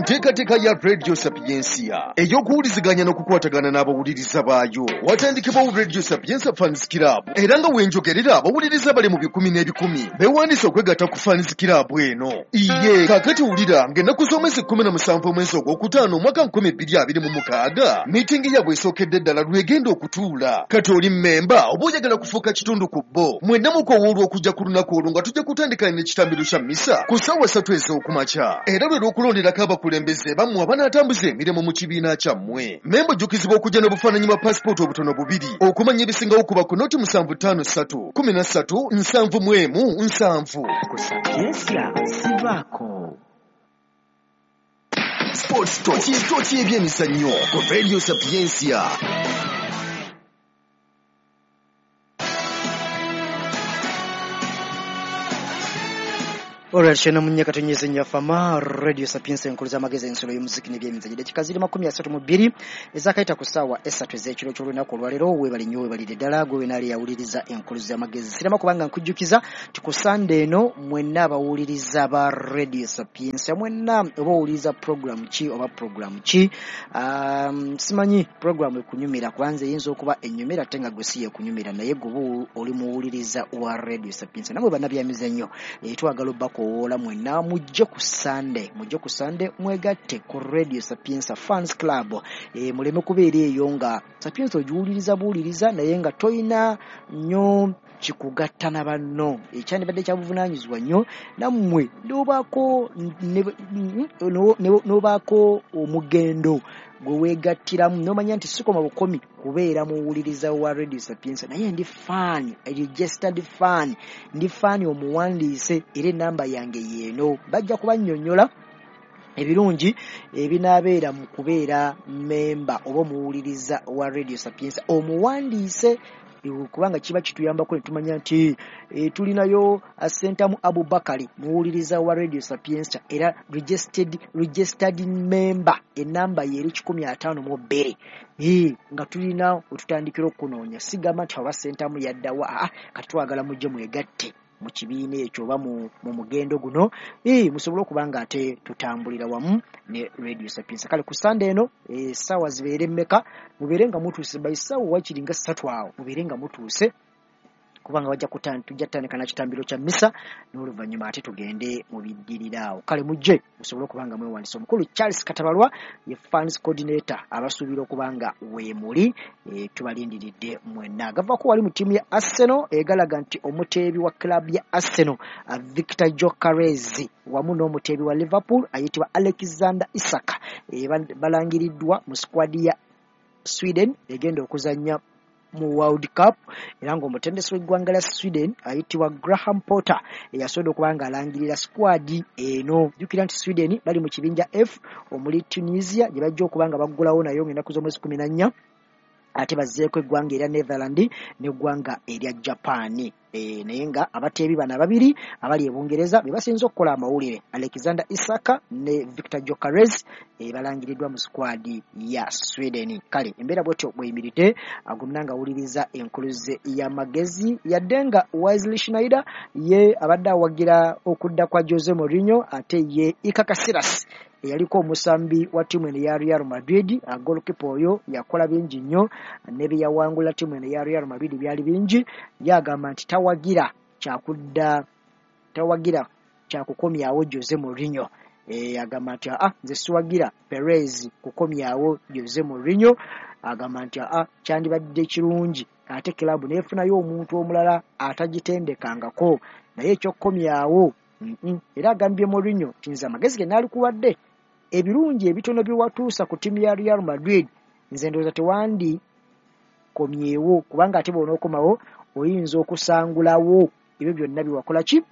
Nteekateeka ya Radio Sapiensia ey'okuwuliziganya n'okukwatagana n'abawuliriza baayo, watandikibwawo Radio Sapiensia Fans Club, era nga wenjogerera abawuliriza bali mu bikumi n'ebikumi beewandiise okwegatta ku Fans Club eno. Iye kaakati wulira ng'ennaku z'omwezi 17 omwezi ogwokutaano omwaka 2026 miitingi yaabwe esookedde ddala lwegenda okutuula. Kati oli mmemba oba oyagala kufuuka kitundu ku bo, mwenna mukowoolwa okujja ku lunaku olwo nga tujja kutandika n'ekitambiro kya mmisa ku ssaawa 3 ez'okumakya, era lwe lw'okulonderako abakulembeze bammwe abanaatambuza emirimu mu kibiina kyammwe. Memba ojjukizibwa okujja n'obufaananyi bwa paasipooti obutono bubiri. Okumanya ebisingawo kuba ku noti 753 13 71 7. Ku Sapiensia sivaako. Sports Tochi ebyemizannyo ku Radio Sapiensia. Alright, shena munyaka tunyeze nyafama Radio Sapiensia enkulu z'amagezi ensolo y'omuziki n'ebyemizannyo. Dakika ziri 32 ezakaita ku ssaawa 3 ez'ekiro ky'olunaku olwaleero. Weebale nnyo, weebalire ddala gwe wenaali yawuliriza enkulu z'amagezi. Sirema kubanga nkujjukiza nti ku Sande eno mwenna abawuliriza ba Radio Sapiensia, mwenna oba owuliriza program ki oba program ki, simanyi program ekunyumira, kubanza eyinza okuba ennyumira ate nga gwe si yekunyumira, naye gwe oba oli muwuliriza wa Radio Sapiensia namwe bannabyamizannyo, twagala obbako owoola mwenna mujje ku Sande, mujje ku Sande mwegatte ku Radio Sapiensia Fans Club. Muleme kubeera eyo nga Sapiensia ogiwuliriza buwuliriza naye nga toyina nnyo kikugatta na banno. Ekyandibadde kya buvunaanyizibwa nnyo nammwe n'obaako omugendo gwe weegattiramu n'omanya nti sikoma bukomi kubeera muwuliriza wa Radio Sapiensia, naye ndi fan, registered fan, ndi fan omuwandiise, era enamba yange yeeno. Bajja kubannyonnyola ebirungi ebinaabeera mu kubeera memba oba omuwuliriza wa Radio Sapiensia omuwandiise, kubanga kiba kituyambako ne tumanya nti tulinayo Sentamu Abubakari muwuliriza wa Radio Sapiensia era registered member, enamba ye eri 152, nga tulina wetutandikira okunoonya. Sigamba nti oba Sentamu yaddawa, kati twagala mujje mwegatte mu kibiina ekyo oba mu mugendo guno, musobole okuba nga ate tutambulira wamu ne Radio Sapiensia. Kale ku Sande eno essaawa zibeere mmeka, mubeere nga mutuuse by ssaawa wakiri nga 3 awo, mubeere nga mutuuse kubanga bajja tujja kutandika na kitambiro kya mmisa n'oluvannyuma ate tugende mu biddirira awo. Kale mujje musobole okuba nga mwewandiisa. Omukulu Charles Katabalwa ye fans coordinator abasuubira okuba nga weemuli, tubalindiridde mwenna. Gavaako wali mu ttiimu ya Arsenal egalaga nti omuteebi wa club ya Arsenal Victor Gyökeres wamu n'omuteebi wa Liverpool ayitibwa Alexander Isak balangiriddwa mu squad ya Sweden egenda okuzannya mu World Cup, era ng'omutendesi w'eggwanga lya Sweden ayitibwa Graham Potter eyasobola okuba ng'alangirira squad eno. Jjukira nti Sweden bali mu kibinja F omuli Tunisia gye bajja okuba nga baggulawo nayo ng'ennaku z'omwezi 14, ate bazzeeko eggwanga erya Netherland n'eggwanga erya Japan. Naye nga abateebi bano ababiri abali e Bungereza be basinze okukola amawulire, Alexander Isak ne Victor Gyökeres balangiriddwa mu squad ya Sweden. Kale embeera bwetyo bweyimiridde, agumna nga awuliriza enkuluze y'amagezi, yadde nga Wesley Sneijder ye abadde awagira okudda kwa Jose Mourinho, ate ye Iker Casillas eyaliko omusambi wa ttiimu eno ya Real Madrid, goalkeeper oyo yakola bingi nnyo ne bye yawangula ttiimu eno ya Real Madrid byali bingi. Yagamba nti tawagira kyakukomyawo Jose Mourinho. Agamba nti nze siwagira Perez kukomyawo Jose Mourinho. Agamba nti kyandibadde kirungi ate club neefunayo omuntu omulala atagitendekangako, naye ekyokukomyawo Era agambye Mourinho nti nze amagezi ge naalikuwadde ebirungi ebitono bye watuusa ku ttiimu ya Real Madrid, nze ndowooza tewandikomyewo, kubanga ate bw'onookomawo oyinza okusangulawo ebyo byonna bye wakola ki,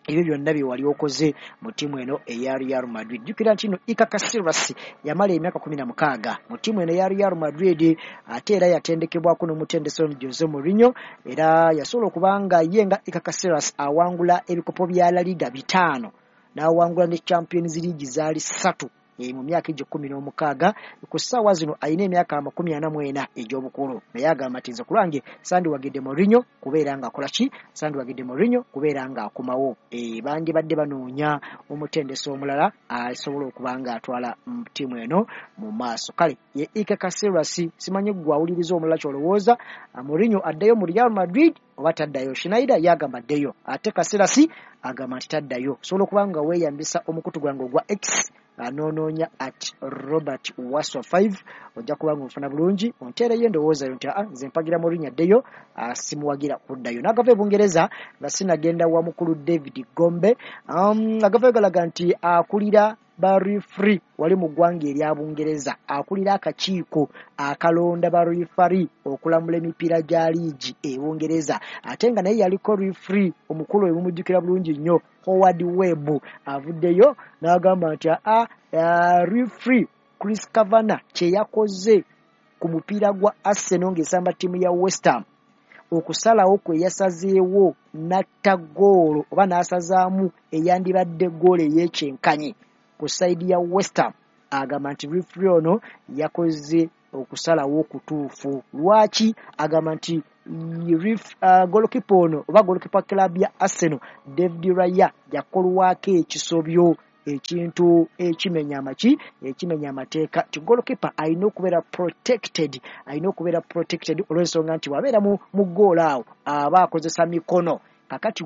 ebyo byonna bye wali okoze mu ttiimu eno eya Real Madrid. Jjukira nti nno Iker Casillas yamala emyaka 16 mu ttiimu eno eya Real Madrid, ate era yatendekebwako n'omutendesi ono Jose Mourinho, era yasobola okuba nga ye nga Iker Casillas awangula ebikopo bya La Liga 5 n'awangula ne Champions League zaali 3. Mu myaka egyo 16, ku ssaawa zino alina emyaka 44 egy'obukulu, naye agamba nti nze ku lwange sandiwagidde Mourinho kubeera ng'akola ki, sandiwagidde Mourinho kubeera ng'akomawo. Bandibadde banoonya omutendesi omulala asobola okuba ng'atwala ttiimu eno mu maaso. Kale ye Iker Casillas, simanyi ggwe awuliriza omulala ky'olowooza, Mourinho addayo mu Real Madrid oba taddayo? Schneider yagamba addeyo, ate Casillas agamba nti taddayo. Osobola okuba nga weeyambisa omukutu gwange ogwa X, noonoonya at Robert Waswa 5, ojja kuba nga onfuna bulungi, onteereyo endowooza yo nti aa nze mpagira Mourinho addeyo, simuwagira kuddayo. N'agava e Bungereza nga sinagenda wa mukulu David Gombe, agavayo galaga nti akulira ba referee wali mu ggwanga erya Bungereza, akulira akakiiko akalonda ba referee okulamula emipiira gya liigi e Bungereza, ate nga naye yaliko referee omukulu ebimujjukira bulungi nnyo, Howard Webb, avuddeyo n'agamba nti aa referee Chris Kavanagh kye yakoze ku mupiira gwa Arsenal ng'esamba ttiimu ya West Ham, okusalawo kwe yasazeewo n'atta ggoolo oba n'asazaamu eyandibadde ggoolo ey'ekyenkanyi ku sayidi ya West Ham, agamba nti referee ono yakoze okusalawo okutuufu. Lwaki? Agamba nti goalkeeper ono oba goalkeeper club ya Arsenal David Raya yakolwako ekisobyo, ekintu ekimenya amaki, ekimenya amateeka, nti goalkeeper alina okubeera protected, alina okubeera protected olw'ensonga nti bw'abeera mu ggoolo awo aba akozesa mikono. Kakati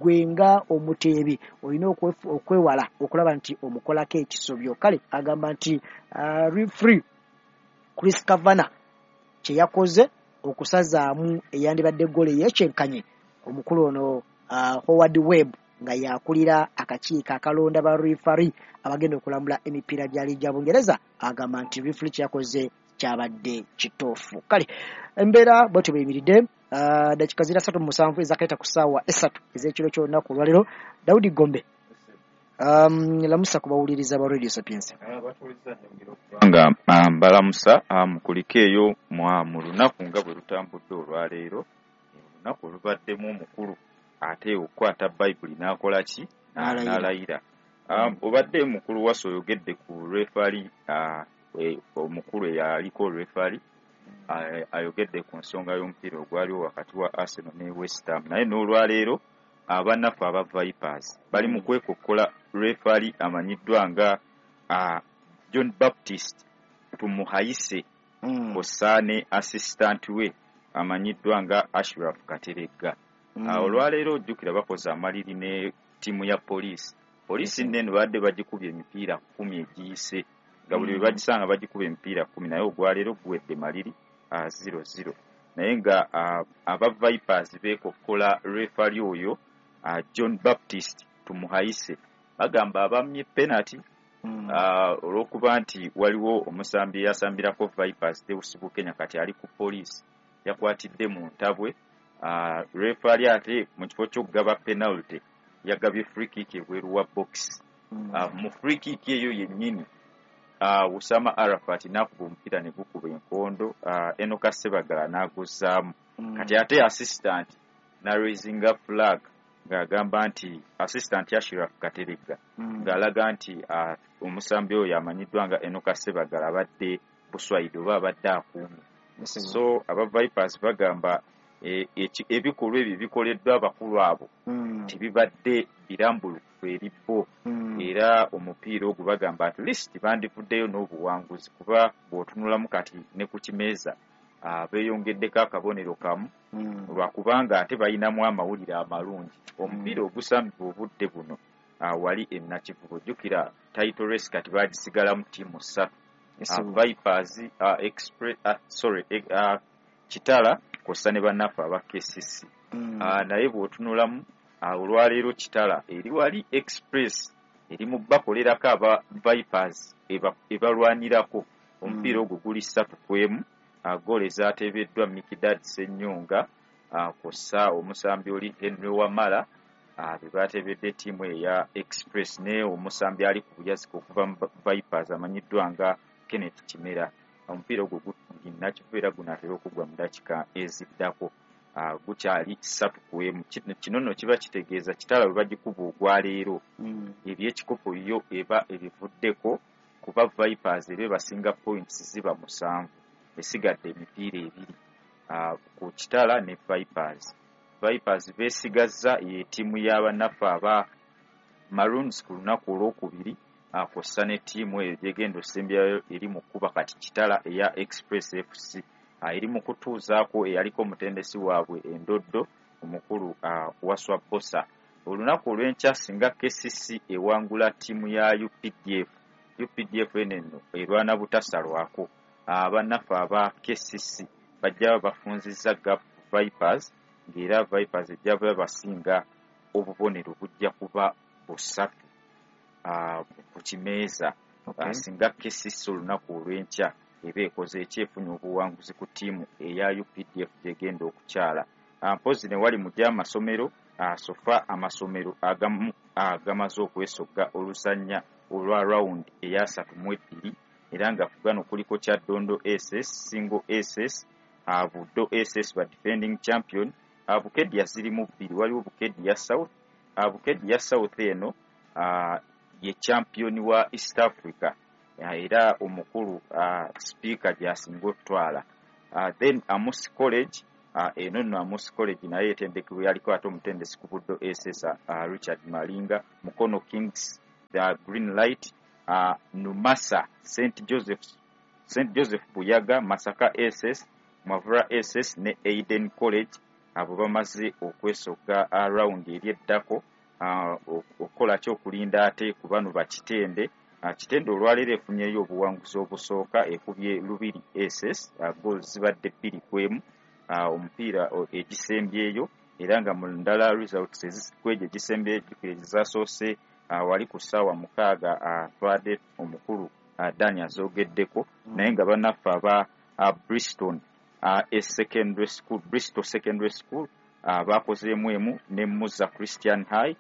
gwe nga omuteebi olina okwewala okulaba nti omukolako ekisobyo. Kale agamba nti referee Chris Kavanagh kye yakoze okusazaamu eyandibadde ggoolo ey'ekyenkanyi, omukulu ono Howard Webb nga yakulira akakiiko akalonda ba referee abagenda okulambula emipiira gya liigi ya Bungereza, agamba nti referee kye yakoze kyabadde kituufu. Kale embeera bwetyo bweyimiridde. Dakika ziri 37 ezakaita ku ssaawa 3 ez'ekiro ky'olunaku olwaleero. Daudi Gombe, lamusa ku bawuliriza ba Radio Sapientia. Nga mbalamusa, mukulike eyo mu lunaku nga bwe lutambudde olwaleero, olunaku olubaddemu omukulu ate okukwata Bayibuli n'akola ki, n'alayira. Obadde mukulu Waso oyogedde ku referee, omukulu eyaliko referee ayogedde ku nsonga y'omupiira ogwaliwo wakati wa Arsenal ne West Ham, naye n'olwaleero abannaffe aba Vipers bali mu kwekokkola referee amanyiddwa nga John Baptist Tumuhayise kw'ossa ne assistant we amanyiddwa nga Ashraf Kateregga. Olwaleero ojjukira bakoze amaliri ne ttiimu ya poliisi. Poliisi nene badde bagikubye emipiira 10 egiyise, nga buli lwe bagisanga bagikuba emipiira 10, naye ogwaleero guwedde maliri 0-0. Naye nga aba Vipers beekokkola referee oyo John Baptist Tumuhayise, bagamba abammye penalty olw'okuba nti waliwo omusambi eyasambirako Vipers Deus Bukenya kati ali ku poliisi, yakwatidde mu ntabwe. Referee ate mu kifo ky'okugaba penalty yagabye free kick ebweru wa box. Mu free kick eyo yennyini Usama Arafat n'akuba omupiira ne gukuba enkondo, Enoka Sebagala n'aguzzaamu. Kati ate assistant n'araisinga flag ng'agamba nti assistant Ashraf Kateregga ng'alaga nti omusambi oyo amanyiddwa nga Enoka Sebagala abadde buswayidi oba abadde akuumye. So aba Vipers bagamba ebikolwa ebyo bikoleddwa abakulu abo tebibadde birambulukufu eri bo, era omupiira ogwo bagamba at least bandivuddeyo n'obuwanguzi, kuba bw'otunulamu kati ne ku kimeeza beeyongeddeko akabonero kamu, lwakubanga ate balinamu amawulire amalungi. Omupiira ogusambibwa obudde buno wali e Nakivubo, jjukira title race kati bagisigalamu ttiimu 3, Vipers, Express, sorry, Kitala kw'ossa ne bannaffe aba KCC. Naye bw'otunulamu olwaleero Kitala eri wali, Express eri mu bakolerako aba Vipers ebalwanirako. Omupiira ogwo guli 3-1, goolo ezaateebeddwa Mikidad Ssenyonga kw'ossa omusambi oli Henry Wamala, be bateebedde ttiimu eya Express, ne omusambi ali ku buyazika okuva mu Vipers amanyiddwa nga Kenneth Kimera. Omupiira ogwo Nakivubo era gunaatera okugwa mu dakiika eziddako. Gukyali 3-1. Kino nno kiba kitegeeza Kitala bwe bagikuba ogwaleero, ebyekikopo yo eba ebivuddeko, kuba Vipers eba ebasinga points ziba 7, esigadde emipiira 2 ku Kitala ne Vipers. Vipers beesigazza ye ttiimu y'abannaffe aba Maroons ku lunaku olwokubiri, kw'ossa ne ttiimu eyo gyegenda osembyayo eri mu kkuba kati Kitala eya Express FC, eri mu kutuuzaako eyaliko omutendesi waabwe endoddo omukulu Waswa Bosa. Olunaku olw'enkya singa KCC ewangula ttiimu ya UPDF, UPDF eno nno erwana butasalwako, abannaffe aba KCC bajja bafunzizza gap Vipers, ng'era Vipers ejja basinga obubonero bujja kuba 3 ku kimeeza. Singa KCC olunaku olw'enkya eba ekoze ekyefunye obuwanguzi ku ttiimu eya UPDF gyegenda okukyala. Mpozi ne wali mu gy'amasomero, sofa amasomero agamu agamaze okwesogga oluzannya olwa round eya 32, era nga ku gano kuliko Kyaddondo SS, Singo SS, Buddo SS ba defending champion. Bukedya zirimu 2, waliwo Bukedya South. Bukedya South eno ye champion wa East Africa, era omukulu speaker gy'asinga okutwala. Then Amus College, eno nno Amus College naye etendekebwa yaliko ate omutendesi ku Buddo SS Richard Malinga. Mukono Kings, the Green Light, Numasa, St Joseph Buyaga, Masaka SS, Mavura SS ne Aiden College, abo bamaze okwesogga round eri eddako okukola ki okulinda ate ku bano bakitende. Kitende olwaleero efunyeyo obuwanguzi obusooka, ekubye Lubiri SS, goals zibadde 2-1, omupiira egisembyeyo, era nga mu ndala results kwegyo egisembyeyo ezasoose wali ku ssaawa 6 twadde omukulu Dani azogeddeko, naye nga bannaffe aba Bristol Secondary School, Bristol Secondary School bakozeemu emu ne Muza Christian High.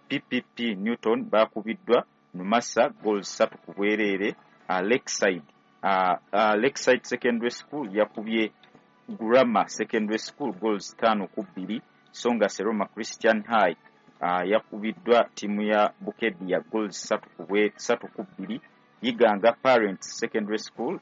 PPP Newton bakubiddwa Numasa goals 3-0. Lakeside Secondary School yakubye Grammar Secondary School goals 5-2, so nga Seroma Christian High yakubiddwa ttiimu ya Bukedia goals 3-2. Yiganga Parents Secondary School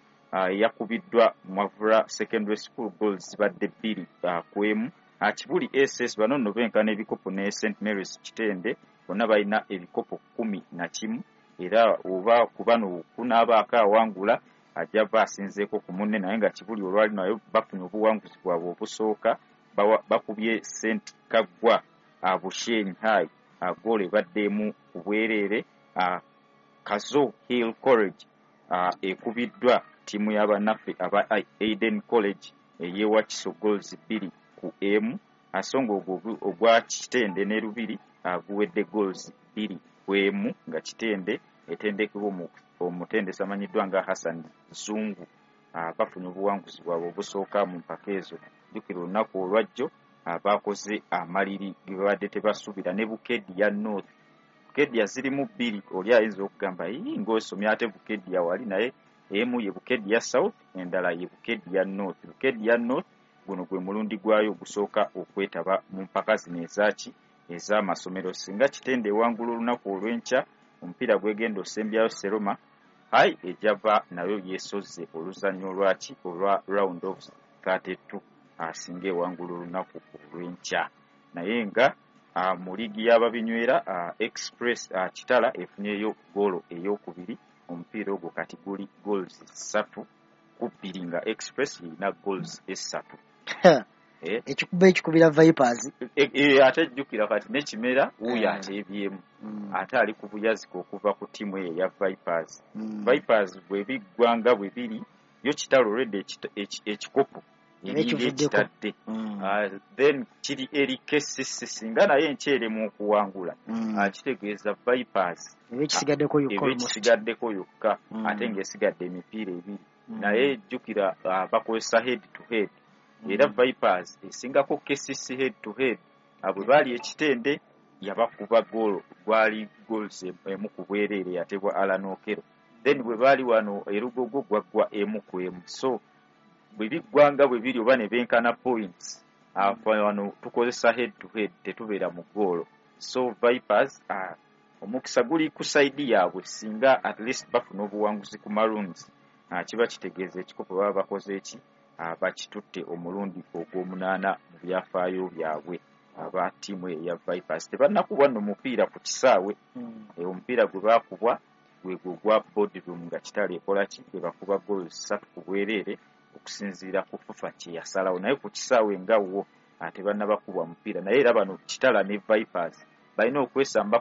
yakubiddwa Mwavura Secondary School goals zibadde 2-1. Kibuli SS bano nno benkana ebikopo ne St Mary's Kitende, bonna balina ebikopo 11, era oba ku bano kunaabaako awangula ajja ava asinzeeko ku munne, naye nga Kibuli olwali nayo bafunye obuwanguzi bwabwe obusooka, bakubye St Kaggwa Bushenyi High goolo ebadde 1-0. Kazo Hill College ekubiddwa ttiimu y'abannaffe aba Aiden College ey'ewakiso goals 2-1, so nga ogwo ogwa Kitende ne Lubiri guwedde goals 2-1, nga Kitende etendekebwa omutendesi amanyiddwa nga Hassan Zungu. Bafunye obuwanguzi bwabwe obusooka mu mpaka ezo. Jjukira olunaku olwajjo bakoze amaliri ge babadde tebasuubira ne Bukedia North. Bukedia zirimu 2, oli ayinza okugamba ng'osomye ate Bukedia wali, naye emu ye Bukedia South, endala ye Bukedia North. Bukedia North guno gwe mulundi gwayo ogusooka okwetaba mu mpaka zino ezaaki ez'amasomero. Singa Kitende ewangula olunaku olw'enkya omupiira gwegenda osembyayo Seroma High ejava nayo yeesozze oluzannya olwaki olwa round of 32, asinga ewangula olunaku olw'enkya. Naye nga mu liigi y'ababinywera Express Kitala efunyeyo goolo ey'okubiri, omupiira ogwo kati guli goals 3-2, nga Express erina goals 3. Ekikuba ekikubira Vipers. Ate jjukira kati n'ekimera wuuyo ateebyemu, ate ali ku buyazika okuva ku ttiimu eyo eya Vipers. Vipers bwe biggwa nga bwe biri, yo Kitala olwedde ekikopo eringa ekitadde, then kiri eri KCC, singa naye enkyeremu okuwangula, kitegeeza Vipers eba ekisigaddeko yokka, ate ng'esigadde emipiira 2. Naye jjukira bakozesa head to head, era Vipers esingako KCC head to head. Bwe baali Ekitende yabakuba goolo, gwali goals 1-0 yatebwa Alan Okello. Then bwe baali wano Erugogo gwaggwa 1-1. So bwe biggwa nga bwe biri oba ne benkana points, Wano tukozesa head to head, tetubeera mu goolo. So Vipers, omukisa guli ku side yaabwe. Singa at least bafuna obuwanguzi ku Maroons, kiba kitegeeza ekikopo baba bakoze eki, bakitutte omulundi ogw'omunaana mu byafaayo byabwe. Aba ttiimu eya Vipers tebannakubwa nno mupiira ku kisaawe. Omupiira gwe baakubwa gwegwo gwa Boardroom, nga Kitale ekola ki, ebakuba goals 3 ku bwereere okusinziira ku FUFA kye yasalawo. Naye ku kisaawe nga wo tebannabakubwa mupiira. Naye era bano Kitala ne Vipers balina okwesamba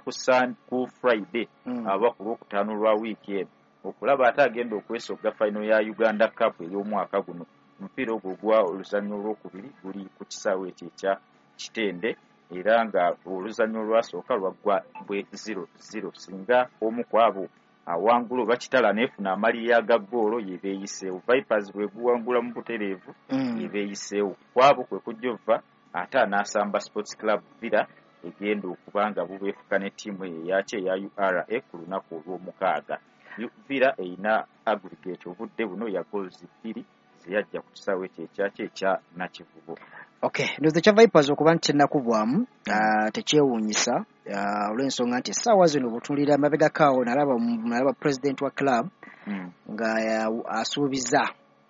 ku Friday aba ku Lwokutaano lwa wiiki eno, okulaba ate agenda okwesogga final ya Uganda Cup ey'omwaka guno. Omupiira ogwo gwa oluzannya olwokubiri guli ku kisaawe ekyo ekya Kitende, era nga oluzannya olwasooka lwaggwa bwe 0-0. Singa omu ku abo awangula oba Kitala neefuna amalirya ga ggoolo, yebeeyiseewo. Vipers bwe guwangula mu butereevu, yebeeyiseewo. Kwabo kwe kujja ova ate anaasamba Sports Club Villa, egenda okuba nga bubeefuka ne ttiimu eyo eyaki eya URA ku lunaku olw'omukaaga. Villa erina aggregate obudde buno ya goals 2 zeyajja ku kisaawe ekyo ekyaki ekya Nakivubo. Okay, ndowooza ekya Vipers okuba nti tennakubwamu tekyewuunyisa, olw'ensonga nti essaawa zino bw'otunuulira amabegako awo, nalaba president wa club nga asuubiza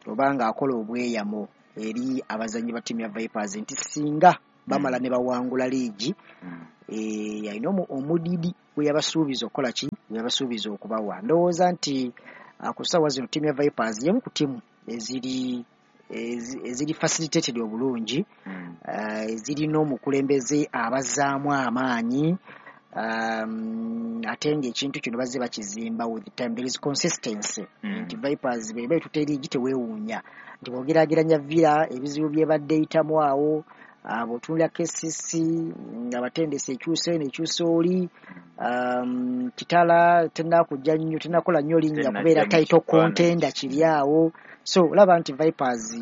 oba ng'akola obweyamo eri abazannyi ba ttiimu ya Vipers nti singa bamala ne bawangula liigi, alina omudidi gwe yabasuubiza okukola ki, gwe yabasuubiza okubawa. Ndowooza nti ku ssaawa zino ttiimu ya Vipers y'emu ku ttiimu eziri facilitated obulungi, ezirina omukulembeze abazzaamu amaanyi, ate ng'ekintu kino bazze bakizimba with time. There is consistency nti Vipers bw'eba etutte liigi teweewuunya nti bw'ogeraageranya Villa ebizibu by'ebadde eyitamu awo, bw'otunuulira KCC abatendesi ekyusa eno ekyusa oli, Kitala tennakujja nnyo, tennakola nnyo linnya kubeera title contender kiri awo. So olaba nti Vipers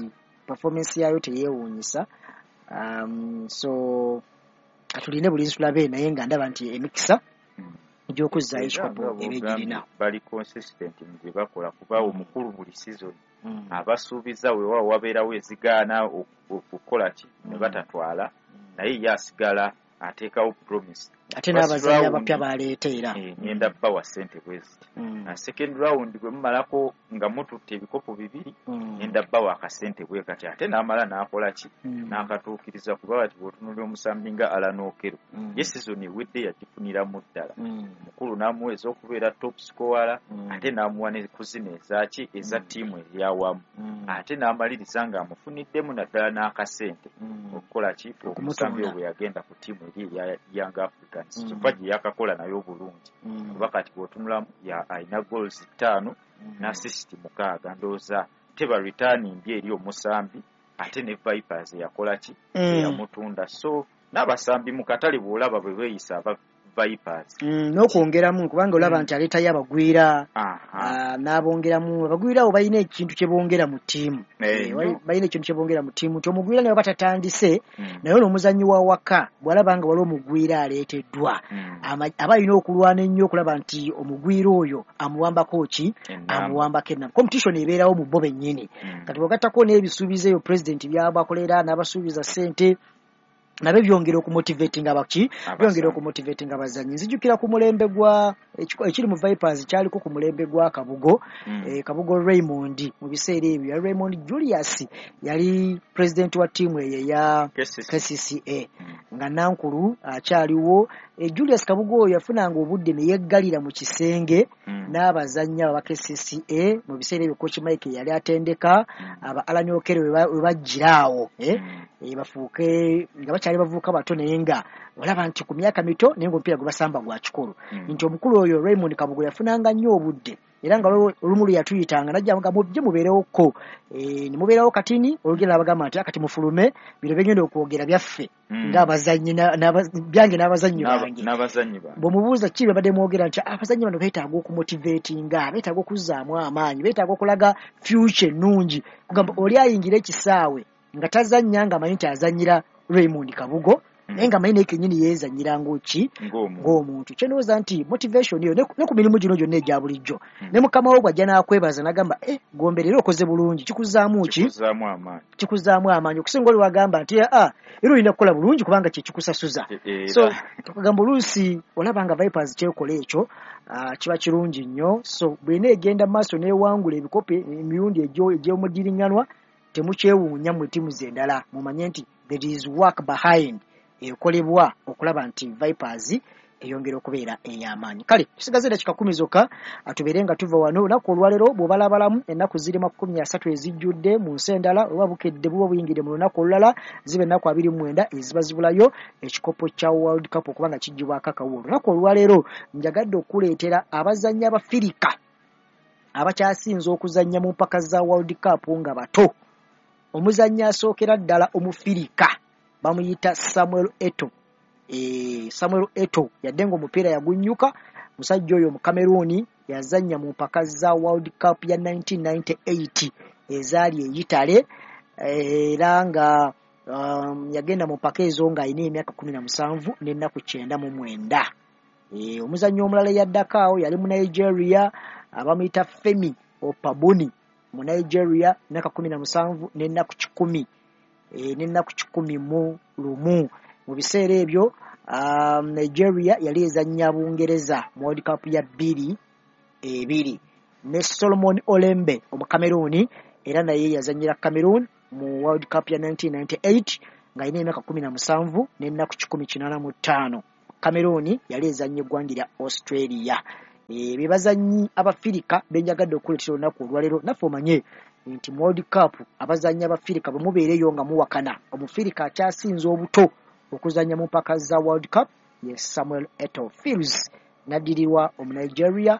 performance yaayo teyeewuunyisa. So katuline bulinzi tulabe, naye nga ndaba nti emikisa egy'okuzzaayo ekikopo eba egirina. Bali consistent mu bye bakola, kuba omukulu buli season abasuubiza, weewaawo wabeerawo ezigaana okukola ki ne batatwala, naye ye asigala ateekawo promise. Ate n'abazannyi abapya baleeta era. Ngenda bawa ssente bwe ziti. Second round bwe mumalako nga mututte ebikopo 2, ngenda bawa akasente bwe kati. Ate n'amala n'akola ki, n'akatuukiriza. Kuba bati bw'otunuulira omusambi nga Allan Okello, ye season ewedde yagifuniramu ddala, omukulu n'amuweeza okubeera top scorer, ate n'amuwa ne ku zino ezaaki eza ttiimu eyawamu, ate n'amaliriza ng'amufuniddemu naddala n'akasente okukola ki, omusambi oyo bwe yagenda ku ttiimu eri eya Young Africans. Kyokka gye yakakola naye obulungi, kuba kati bw'otunulamu alina goals 5 n'assist 6. Ndowooza teba return mbi eri omusambi. Ate ne Vipers yakola ki, eyamutunda. So n'abasambi mu katale bw'olaba bwe beeyisa aba Vipers. N'okwongeramu, kubanga olaba nti aleetayo abagwira, n'abongeramu. Abagwira abo balina ekintu kye bongera mu ttiimu. Balina ekintu kye bongera mu ttiimu nti omugwira naye batatandise, naye ono omuzannyi wa waka bw'alaba nga waliwo omugwira aleeteddwa, aba alina okulwana ennyo okulaba nti omugwira oyo amuwambako ki, amuwambako ennamba. Competition ebeerawo mu bo bennyini. Kati bw'ogattako n'ebisuubizo ebyo pulezidenti by'abakolera n'abasuubiza ssente, nabyo byongera okumotivatinga abaki, byongera okumotivatinga abazannyi. Nzijukira ku mulembe gwa ekiri mu Vipers kyaliko ku mulembe gwa Kabugo, Kabugo Raymond. Mu biseera ebyo ya Raymond Julius yali president wa ttiimu eyo eya KCCA, nga Nankulu akyaliwo. Julius Kabugo oyo yafunanga obudde ne yeggalira mu kisenge n'abazannyi aba KCCA. Mu biseera ebyo Coach Mike yali atendeka aba Allan Okello, we bajjira awo bafuuke nga bakyali bavubuka bato, naye nga olaba nti ku myaka mito, naye ng'omupiira gwe basamba gwa kikulu. Nti omukulu oyo Raymond Kabugo yafunanga nnyo obudde, era nga olumu lwe yatuyitanga najja nga mujje mubeerewokko, ne mubeerawo katini olugenda n'abagamba nti kati mufulume, bino byengenda okwogera byaffe ng'abazannyi byange n'abazannyi bange. Bw'omubuuza ki babadde mwogera, nti abazannyi bano beetaaga okumotivatinga, beetaaga okuzzaamu amaanyi, beetaaga okulaga future ennungi. Kugamba oli ayingira ekisaawe nga tazannya ng'amanyi nti azannyira Raymond Kabugo. Naye nga manyi naye kennyini yeezannyira ng'oki ng'omuntu. Kyendowooza nti motivation eyo ne ku mirimu gino gyonna egya bulijjo, ne mukama wo bw'ajja n'akwebaza n'agamba gombe leero okoze bulungi, kikuzzaamu ki? Kikuzzaamu amaanyi okusinga oli wagamba nti era olina kukola bulungi kubanga kye kikusasuza. So tukagamba oluusi olaba nga Vipers kyekola ekyo, kiba kirungi nnyo. So bw'ena egenda mu maaso n'ewangula ebikopo emirundi egy'omudiriŋŋanwa, temukyewuunya mmwe ttiimu ze endala, mumanye nti there is work behind ekolebwa okulaba nti Vipers eyongera okubeera ey'amaanyi. Kale tusigaze eddakiika 10 zokka tubeere nga tuva wano. Olunaku olwaleero bw'obalabalamu ennaku ziri 30 ezijjudde mu nsi endala, oba bukedde buba buyingidde mu lunaku olulala, ziba ennaku 29 eziba zibulayo ekikopo kya World Cup okuba nga kiggyibwako akawuwo. Olunaku olwaleero njagadde okuleetera abazannyi Abafirika abakyasinze okuzannya mu mpaka za World Cup nga bato. Omuzannyi asookera ddala Omufirika bamuyita Samuel Eto'o. Samuel Eto'o yadde ng'omupiira yagunnyuka, musajja oyo mu Cameroon yazannya mu mpaka za World Cup ya 1998 ezaali e Italy, era nga yagenda mu mpaka ezo ng'alina emyaka 17 n'ennaku 99. Omuzannyi omulala eyaddako awo yali mu Nigeria, abamuyita Femi Opabuni mu Nigeria, emyaka 17 n'ennaku 100 n'ennaku 101. Mu biseera ebyo Nigeria yali ezannya Bungereza mu World Cup ya 2002. Ne Solomon Olembe Omukameruuni era naye yazannyira Cameroon mu World Cup ya 1998 ng'alina emyaka 17 n'ennaku 185. Cameroon yali ezannya eggwanga lya Australia. Be bazannyi Abafirika benjagadde okuleetera olunaku olwaleero. Naffe omanye nti mu World Cup abazannyi Abafirika bwe mubeereyo nga muwakana, Omufirika akyasinze obuto okuzannya mu mpaka za World Cup ye Samuel Eto'o Fils, n'addirirwa Omunigeria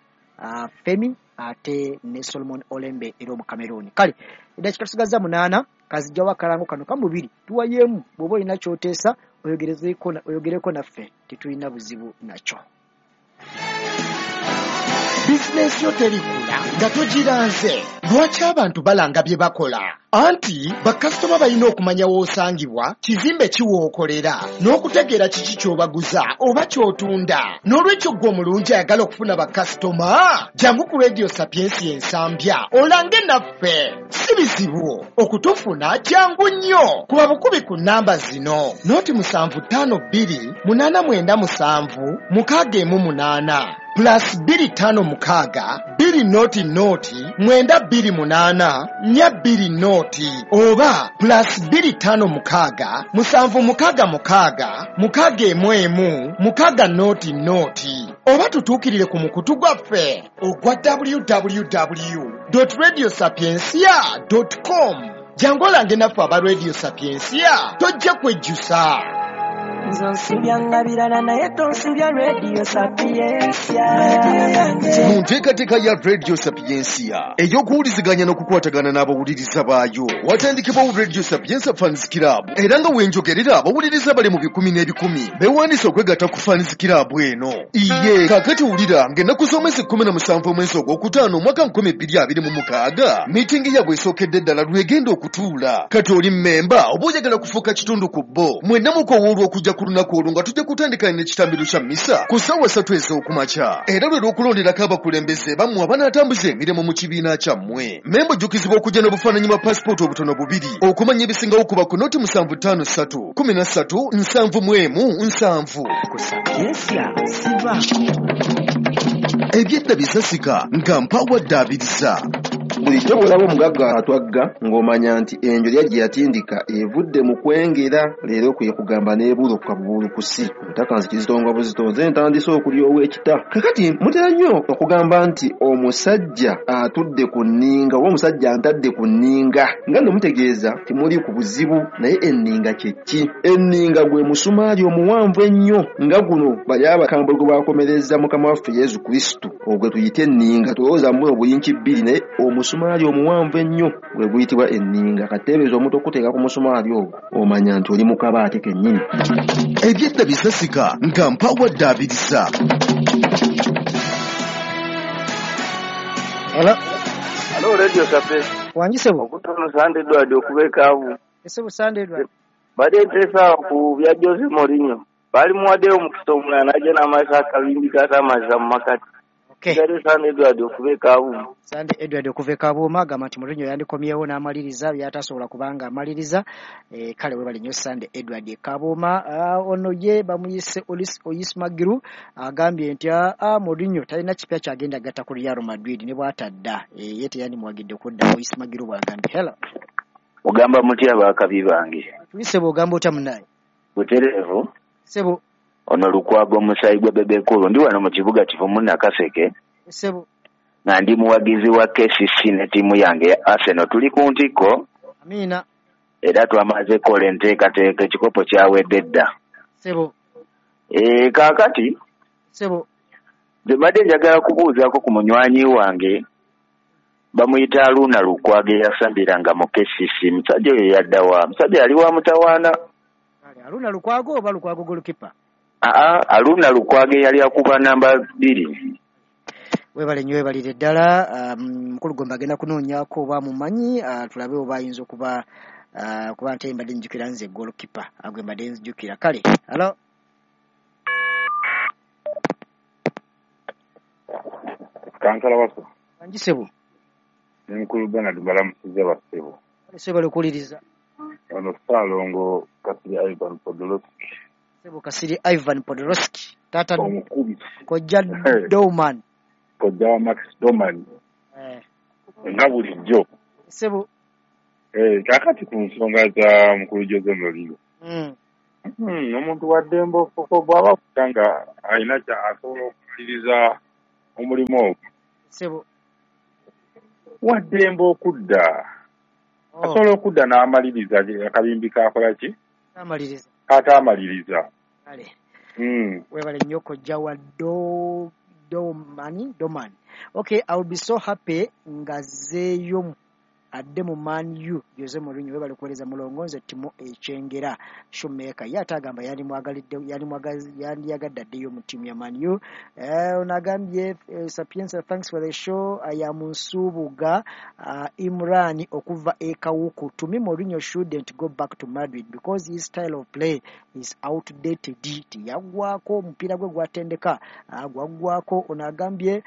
Femi ate ne Solomon Olembe era Omukameruuni. Kale eddakiika tusigazza 8, kazijjawo akalango kano kamubiri tuwayeemu. Bw'oba olina ky'oteesa oyogereko naffe, tetulina buzibu nakyo. Bizinensi yo terikula nga togiranze. Lwaki abantu balanga bye bakola? Anti bakasitoma balina okumanya w'osangibwa, kizimbe ki w'okolera, n'okutegeera kiki ky'obaguza oba ky'otunda. N'olwekyo ggwe omulungi ayagala okufuna bakasitoma, jangu ku Radio Sapiensia Ensambya olange naffe. Si bizibu okutufuna, kyangu nnyo. Kuba bukubi ku nnamba zino: 0752 897 618 plus 256 2 0 0 928 420 oba plus 256 766 611 6 0 0, oba tutuukirire ku mukutu gwaffe ogwa www.radiosapiencia.com. Jangu olange naffe aba Radio Sapiensia, tojja kwejjusa. Nze nsubya birala naye tonsubya Radio Sapiensia. Mu nteekateeka ya Radio Sapiensia ey'okuwuliziganya n'okukwatagana n'abawuliriza baayo, watandikibwawo Radio Sapiensia Fans Club, era nga wenjogerera abawuliriza bali mu bikumi n'ebikumi beewandiise okwegatta ku Fans Club eno. Iye kaakati wulira ng'ennaku z'omwezi 17 omwezi ogwokutaano omwaka 2026 miitingi yaabwe esookedde ddala lwegenda okutuula. Kati oli mmemba oba oyagala kufuuka kitundu ku bo, mwenna mukowoolwa okujja ku lunaku olwo nga tujja kutandika n'ekitambiro kya mmisa ku ssaawa 3 ez'okumakya, era lwe lw'okulonderako abakulembeze bammwe abanaatambuza emirimu mu kibiina kyammwe. Memba ojjukizibwa okujja n'obufaananyi bwa pasipooti obutono bubiri. Okumanya ebisingawo kuba ku 0753 13 71 7. Ku Sapiensia sivaako. Ebyedda bisasika nga mpawadde abiriza. Bulijjo bw'olaba omugagga atwagga ng'omanya nti enjolya gye yatindika evudde mu kwengera, leero kwe kugamba n'ebuuluka bubuulukusi. Obutaka nzikizitonga buzitonze ntandise okulyowa ekita. Kakati mutera nnyo okugamba nti omusajja atudde ku nninga oba omusajja antadde ku nninga, nga nno mutegeeza timuli ku buzibu. Naye enninga kye ki? Enninga gwe musumaali omuwanvu ennyo nga guno bali abakambwe gwe bakomereza Mukama waffe Yesu Kristo, ogwe tuyite enninga. Tulowooza mu obuyinki bbiri, naye omusumaali omuwanvu ennyo gwe guyitibwa enninga. Kateebereza omuntu okuteeka ku musumaali ogwo, omanya nti oli mu kabaate kennyini. Ebyedda bisasika nga mpawadde abiriza. Hello. Hello, Radio Sapiensia. Wangi sebo. Okutono Sande Edward okuba ekaavu. Esebo Sande Edward. Mbadde nteesa ku bya Jose Mourinho. Baali muwaddeyo omukisa omulala n'ajja n'amazza akabimbi k'atamazza mu makati. Okay. Sigadde Sande Edward okuva e Kabuuma. Sande Edward okuva e Kabuuma agamba nti Mourinho yandikomyewo n'amaliriza by'atasobola kubanga amaliriza. Kale webale nnyo Sande Edward e Kabuuma. Ono ye bamuyise Oyismagiru agambye nti Mourinho talina kipya kyagenda gatta ku Real Madrid ne bw'atadda. Ye teyandimuwagidde kudda, Oyismagiru bw'agambye. Hello. Ogamba mutya baakabi bange? Tulise bw'ogamba otya munnaye? Butereevu. Ssebo. Ono Lukwago omusaayi gwa Bebe Cool, ndi wano mu kibuga Kivumu Nakaseke. Ssebo. Nga ndi muwagizi wa KCC ne ttiimu yange ya Arsenal, tuli ku ntikko. Amiina. Era twamaze kukola enteekateeka, ekikopo kyawedde dda. Ssebo. Kaakati Ssebo. nze mbadde njagala kubuuzaako ku munywanyi wange bamuyita Haruna Lukwago eyasambiranga mu KCC. Musajja oyo yadda wa? Musajja yali wa mutawaana. Kale Haruna Lukwago oba Lukwago goalkeeper? Aa, Haruna Lukwago eyali akuba namba 2. Webale nnyo, webalire ddala. Mukulu Gomba agenda kunoonyaako oba mumanyi, tulabe oba ayinza okuba, kuba nte mbadde nzijukira nze goalkeeper gwe mbadde nzijukira. Kale hello. Kansala Wasswa. Wangi ssebo. Ne mukulu Bernard mbalamusizza bassebo. Kale ssebo, okuwuliriza. Ono Ssaalongo Kasirye Ivan Podolowski. Ssebo Kasirye Ivan Podolowski, taata omukubi. Kojja Dowman. Kojja wa Max Dowman. Nga bulijjo. Ssebo. Kaakati ku nsonga za mukulu Jose Mourinho. Omuntu wa ddembe bw'aba akuta nga alina asobola okumaliriza omulimu ogwo. Ssebo. Wa ddembe okudda. Asobola okudda n'amaliriza akabimbi k'akola ki? Amaliriza. K'ataamaliriza. Kale. Webale nnyo kojja wa Dowman. Okay, I will be so happy ng'azzeeyo adde mu Man U Jose Mourinho. Webale kuweereza mulongo, nze Timo Ekyengera Shoemaker. Ye ate agamba yandiyagadde addeyo mu ttiimu ya Man U. Ono agambye Sapienza, thanks for the show. I am Nsubuga Imran okuva e Kawuku. To me, Mourinho shouldn't go back to Madrid because his style of play is outdated. Tiyaggwako omupiira gwe gwatendeka, gwaggwako. Ono agambye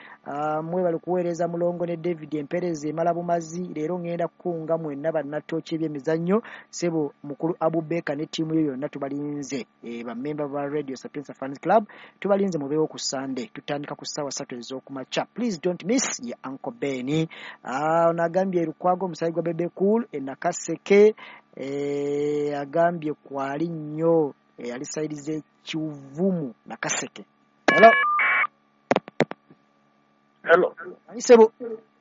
mwebale kuweereza mulongo ne David Empereza emala bumazi. Leero ngenda kukunga mwenna bannatooki ebyemizannyo. Ssebo mukulu Abubeka ne ttiimu yo yonna tubalinze. Bammemba ba Radio Sapienza Fans Club tubalinze, mubeewo ku Sunday. Tutandika ku ssaawa 3 ez'okumakya. Please don't miss ye Uncle Ben. Ono agambye Lukwago omusaayi gwa Bebe Cool e Nakaseke. Agambye kwali nnyo, ali side z'Ekivumu Nakaseke. Hello. Hello. Ani ssebo?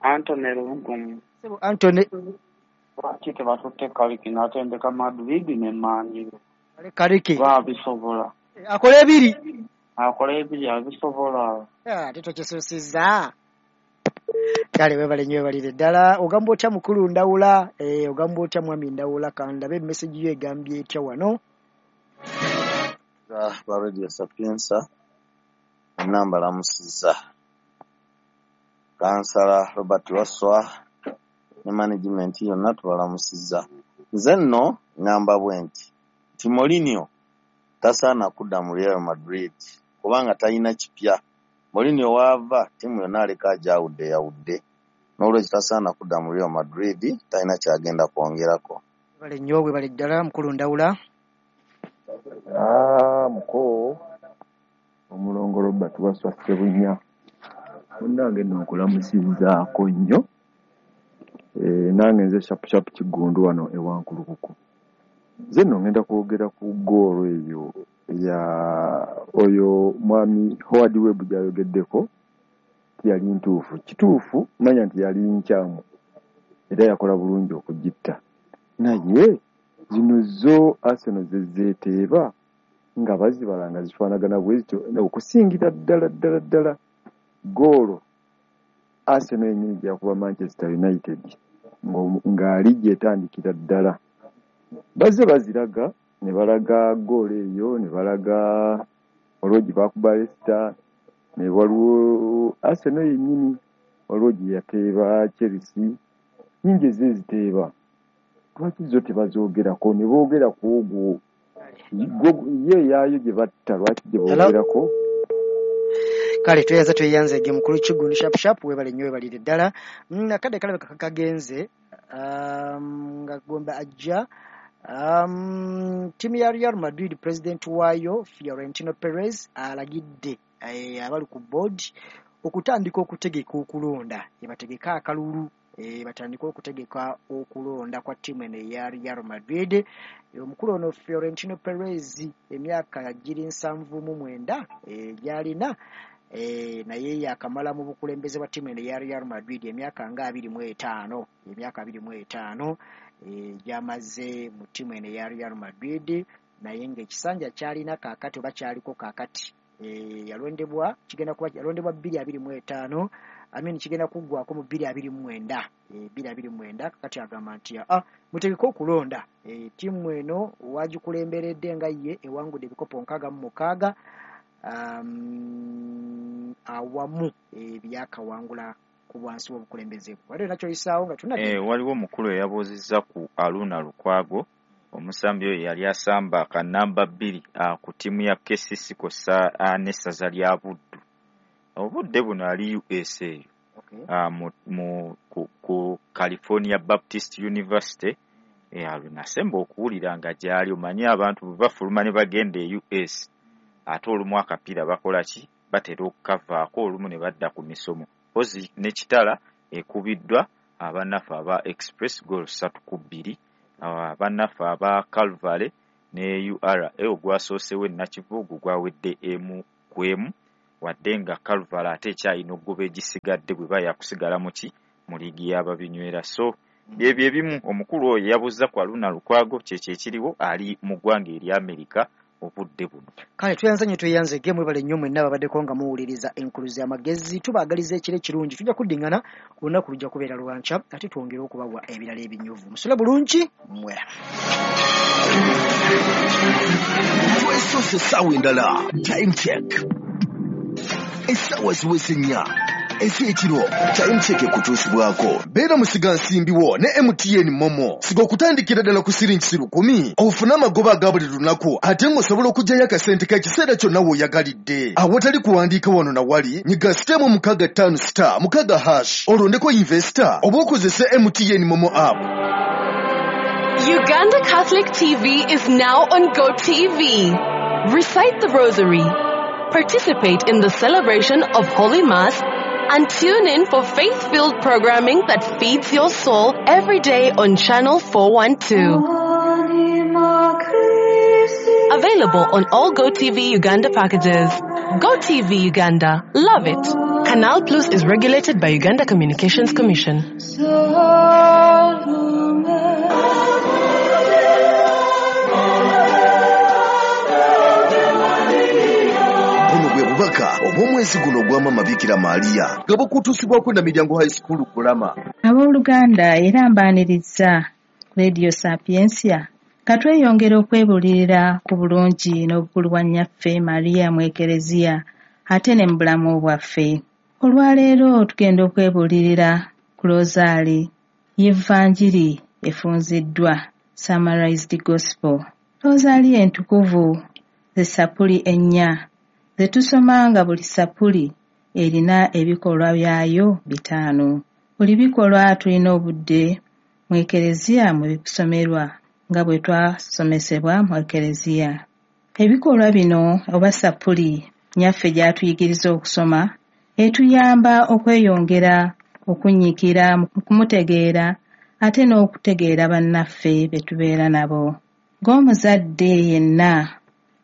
Anthony Lugumu. Ssebo Anthony. Lwaki tebatutte Carrick n'atendeka Madrid ne Man U? Carrick. Babisobola. Akola ebiri. Akola ebiri abisobola. Ate tokisusiza. Kale webale nnyo, webalire ddala. Ogamba otya mukulu Ndawula? Ogamba otya mwami Ndawula? Kandabe message yo egambye etya wano. Ba Radio Sapienza mwenna mbalamusizza. Kansala Robert Wasswa ne management yonna tubalamusizza. Nze nno ŋŋamba bwe nti Mourinho tasaana kudda mu Real Madrid kubanga talina kipya. Mourinho waava ttiimu yonna aleka agyawudde yawudde. Noolwekyo tasaana kudda mu Real Madrid, talina ky'agenda kwongerako. Webale nnyo, webale ddala mukulu Ndawula. Muko omulongo Robert Wasswa Ssebunya, munnange nno nkulamusizzaako nnyo. Nange nze Shapu Shapu Kiggundu wano e Wankulukuku. Nze nno ngenda kwogera ku ggoolo eyo ya oyo mwami Howard Webb gy'ayogeddeko nti yali ntuufu. Kituufu manya nti yali nkyamu era yakola bulungi okugitta. Naye zino zo Arsenal ze zeeteeba nga bazibala nga zifaanagana bwe zityo, okusingira ddala ddala ddala ggoolo Arsenal yennyini gye yakuba Manchester United ng'ali gy'etandikira ddala. Bazze baziraga ne balaga ggoolo eyo, ne balaga waliwo gye baakuba Leicester, ne waliwo Arsenal yennyini waliwo gye yateeba Chelsea, nnyingi ezze ziteeba. Lwaki zo tebazoogerako ne boogera ku ogwo ye eyaayo gye batta, lwaki gye boogerako? Kale tweyanza tweyanzege mukulu Kiggundu sharp sharp, weebale nnyo, weebalire ddala. Akadde kalabika kagenze, nga Gombe ajja. Ttiimu ya Real Madrid, president waayo Fiorentino Perez alagidde abali ku board okutandika okutegeka okulonda, bategeke akalulu, batandike okutegeka okulonda kwa ttiimu eno eya Real Madrid. Omukulu ono Fiorentino Perez emyaka giri 79 gy'alina, naye yakamala mu bukulembeze bwa ttiimu eno eya Real Madrid emyaka nga 25, emyaka 25 gy'amaze mu ttiimu eno eya Real Madrid, naye ng'ekisanja ky'alina kaakati oba kyaliko kaakati, yalondebwa, kigenda kuba yalondebwa 2025, I mean kigenda kuggwako mu 2029, 2029. Kakati agamba nti mutegeke okulonda. Ttiimu eno wagikulemberedde nga ye ewangudde ebikopo 66, awamu ebyakawangula ku bwansi w'obukulembeze bwe. Waliwo nakyoyisaawo nga tunadde? Waliwo omukulu eyabuuzizza ku Aluna Lukwago, omusambi oyo yali asamba kanamba 2 ku ttiimu ya KCC kw'ossa n'essaza lya Buddu. Obudde buno ali USA, ku California Baptist University. Nasemba okuwulira nga gy'ali. Omanyi abantu bwe bafuluma ne bagenda e US, ate olumu akapiira bakola ki, batera okukavaako olumu ne badda ku misomo. Mpozi ne Kitala ekubiddwa abannaffe aba Express goal 3-2, abannaffe aba Calvary ne URA ogwasoosewo e Nakivubo gwawedde 1-1, wadde nga Calvary ate ekyalina okugoba egisigadde bwe bayakusigala mu ki, mu liigi y'ababinywera. So byebyo ebimu omukulu oyo yabuuza ku Aluna Lukwago, kyekyo ekiriwo, ali mu ggwanga erya Amerika obudde buno. Kale tweyanza nnyo, tweyanzege, mwebale nnyo mwenna ababaddeko nga muwuliriza Enkuluze y'Amagezi. Tubaagaliza ekiro ekirungi, tujja kuddingana ku lunaku lujja kubeera lwankya, ate twongere okubawa ebirala ebinyuvu. Musule bulungi, mweraba. Twesoose essaawa endala, time check, essaawa ziweze 4 ez'ekiro. Time check ekutuusibwako beera musigansimbi wo ne MTN Momo. Siga okutandikira ddala ku siringi 1,000 ofune amagoba aga buli lunaku, ate ng'osobola okuggyayo akasente k'ekiseera kyonna w'oyagalidde awatali kuwandiika wano na wali. Nyiga *656*6# olondeko investor oba okozese MTN Momo app. Uganda Catholic TV is now on GoTV. Recite the Rosary, participate in the celebration of Holy Mass, and tune in for faith-filled programming that feeds your soul every day on Channel 412. Available on all GoTV Uganda packages. GoTV Uganda. Love it. Canal Plus is regulated by Uganda Communications Commission. Bubaka obw'omwezi guno ogw'Amaama Bikira Maria nga bukutuusibwako na Miryango High School Kulama. Abooluganda, era mbaaniriza Radio Sapientia nga tweyongera okwebuulirira ku bulungi n'obukulu bwa nnyaffe Maria mu Ekereziya ate ne mu bulamu bwaffe. Olwaleero tugenda okwebuulirira ku Rosaali y'Evanjiri efunziddwa, Summarized Gospel. Rosaali entukuvu ze ssapuli 4 ze tusoma nga buli ssapuli erina ebikolwa byayo 5. Buli bikolwa tulina obudde mu Ekereziya mwe bikusomerwa nga bwe twasomesebwa mu Ekereziya. Ebikolwa bino oba ssapuli nnyaffe gy'atuyigiriza okusoma etuyamba okweyongera okunyiikira mu kumutegeera ate n'okutegeera bannaffe be tubeera nabo. Ng'omuzadde yenna,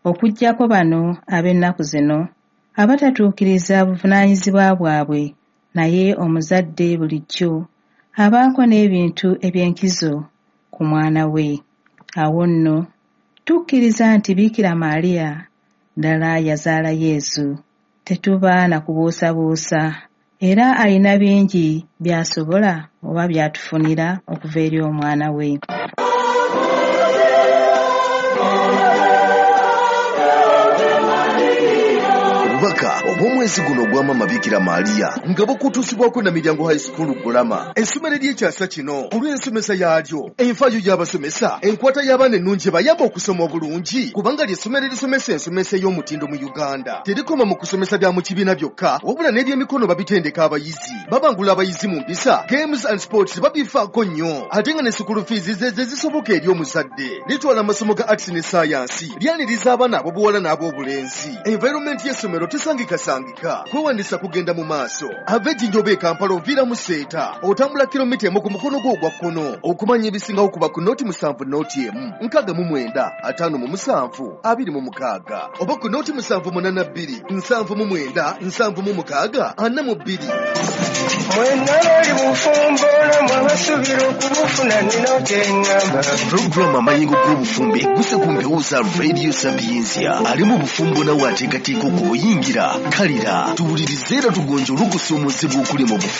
okuggyako bano ab'ennaku zino abatatuukiriza buvunaanyizibwa bwabwe, naye omuzadde bulijjo abaako n'ebintu eby'enkizo ku mwana we. Awo nno tukkiriza nti Bikira Maria ddala yazaala Yesu, tetuba na kubuusabuusa, era alina bingi by'asobola oba by'atufunira okuva eri omwana we. Obubaka obw'omwezi guno ogwa Maama Bikira Maria nga bukutuusibwako Namiryango High School Gulama, essomero ery'ekyasa kino olw'ensomesa yaalyo, enfaayo y'abasomesa, enkwata y'abaana ennungi ebayamba okusoma obulungi, kubanga ly'essomero erisomesa ensomesa ey'omutindo mu Uganda. Terikoma mu kusomesa bya mu kibiina byokka, wabula n'ebyemikono babitendeka abayizi. Babangula abayizi mu mpisa, games and sports babifaako nnyo, ate nga ne school fees ze ze zisoboka eri omuzadde. Litwala amasomo ga arts ne science, lyaniriza abaana ab'obuwala n'ab'obulenzi. Environment y'essomero tesangikasangika, kwewandiisa kugenda mu maaso. Ava e Jinja oba e Kampala oviira mu Seeta, otambula kilomita emu ku mukono gwo ogwa kkono. Okumanya ebisingawo kuba ku 07 01 69 57 26 oba ku 0782 79 76 42. Mwenna bali bufumbo namwe abasuubira okubufuna nina kyeŋŋamba. Pulogulaamu Amayengo g'Obufumbo egguse ku mpewo za Radio Sapientia. Ali mu bufumbo nawe ateekateeka okubuyingira. Kalira, tuwulirize era tugonjole okusoomozebwa okuli mu bufumbo.